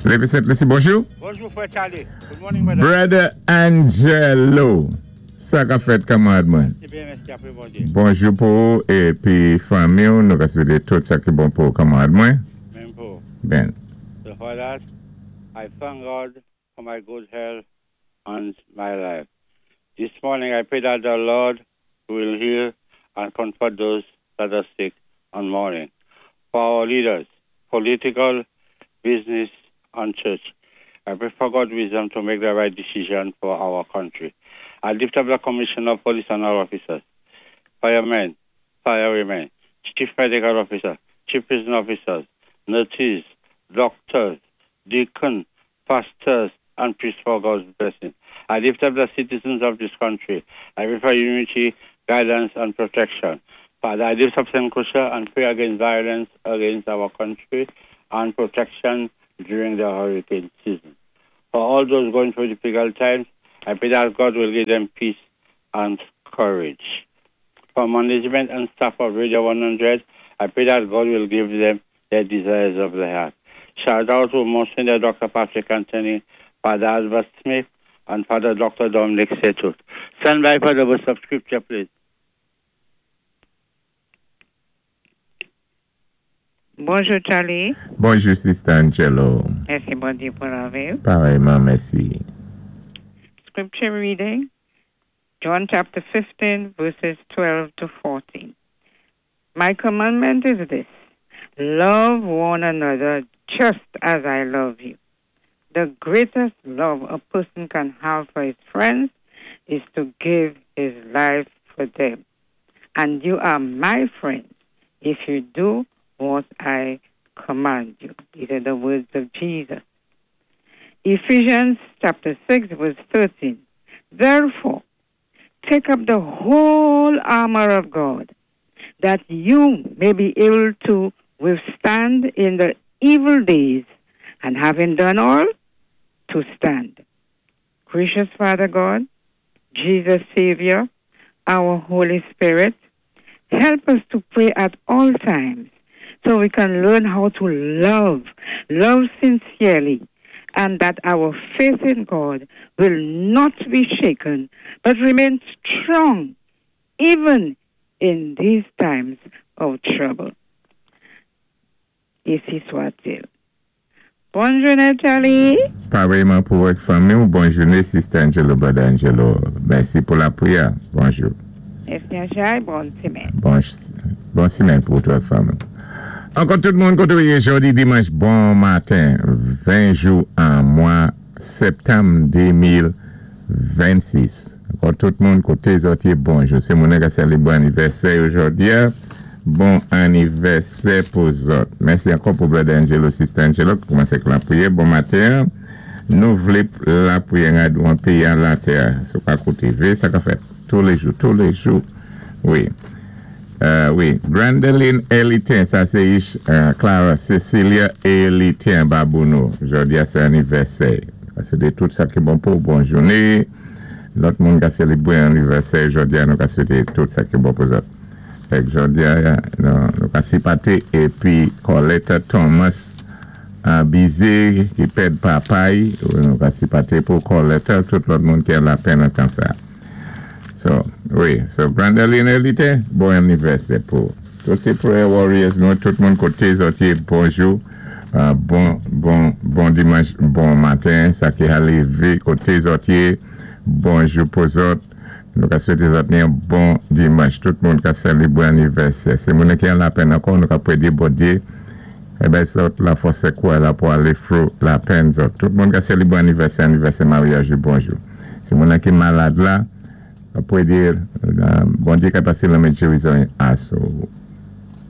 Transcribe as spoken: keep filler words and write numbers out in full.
Lévé Sent Lisi, bonjou. Bonjou, Fwè Charlie. Good morning, brother. Brother Angelo. Sa ka fèt, kanmarad mwen? Sé byen, mèsi, apwé Bondyé. Bonjou pou ou épi fanmi, nou ka swété tout sa ki bon pou kanmarad mwen. Menm pou. Ben. So for that, I thank God for my good health and my life. This morning I pray that the Lord will heal and comfort those that are sick and mourning. For our leaders, political, business, and church, I pray for God's wisdom to make the right decision for our country. I lift up the Commissioner of Police and all officers, firemen, firewomen, chief medical officer, chief prison officers, nurses, doctors, deacons, pastors, and priests for God's blessing. I lift up the citizens of this country. I pray for unity, guidance, and protection. Father, I lift up Saint Lucia and pray against violence against our country and protection during the hurricane season. For all those going through difficult times, I pray that God will give them peace and courage. For management and staff of Radio one hundred, I pray that God will give them their desires of the heart. Shout out to Monsignor Doctor Patrick Anthony, Father Albert Smith, and Father Doctor Dominic Setut. Stand by for the verse of scripture, please. Bonjou, Charlie. Bonjou, Sister Angelo. Mèsi, Bondyé, pou lavi. Parèyman, mèsi. Scripture reading, John chapter fifteen, verses twelve to fourteen. My commandment is this: love one another just as I love you. The greatest love a person can have for his friends is to give his life for them. And you are my friends if you do what I command you. These are the words of Jesus. Ephesians chapter six, verse thirteen. Therefore, take up the whole armor of God, that you may be able to withstand in the evil days, and having done all, to stand. Gracious Father God, Jesus Savior, our Holy Spirit, help us to pray at all times so we can learn how to love, love sincerely, and that our faith in God will not be shaken, but remain strong even in these times of trouble. Ainsi soit-il. Bonne journée, Charlie. Parèyman pou vòt fanmi. Bonne journée, Sister Angelo, Brother Angelo. Mèsi pou lapwiyè. Bonjou. Mèsi, bonne semèn. Bon, bonne semèn pou tout fanmi. Ankò tout moun koté jòdi dimanch, bon maten, ven jou an mwa septanm de mil vennsis. Ankò tout moun koté zòt yé, bonjou. Sé moun ki sélébwé anivèsè jòdi. Bon anivèsè pou zòt. Mèsi ankò pou Brother Angelo, Sister Angelo, ki koumansé lapwiyè. Bon maten. Nou vlé lapwiyè an péyi an latè. Sé pa koté sa ka fèt toulé jou, toulé jou. Wi. Euh, wi, Grandeline Elitin, sa sé euh, Clara Cecilia Elitin Babouno. Jòdi a sé anivèsè. Swété tout sa ki bon pou bonne journée. Lòt moun ka sélébwé anivèsè jòdi a, nou ka swété tout sa ki bon pou zòt. Fè jòdi a, nou, nou ka sipaté épi Coletta Thomas Bizé ki pèd papay, nou ka sipaté pou Coletta, tout lòt moun ki an lapenn an tan sa. So, wi, so Grandeline Elite, bon anivèsè pou tout sé prayer warriors, nou tout moun koté zòt yé, bonjou, euh, bon, bon, bon dimanch, bon maten, sa ki a lévé koté zòt yé, bonjou pou zòt, nou ka swété zòt ni yon bon dimanch, tout moun ka sélébwé anivèsè. Sé moun ki an lapenn ankò, nou ka pwédé Bondyé, eh ben, zòt lafòs sékou la pou alé through lapenn zòt. Tout moun ka sélébwé anivèsè, anivèsè maryaj, bonjou. Sé moun ki malad la, pwédé Bondyé ka pasé lanmen gérizon asou.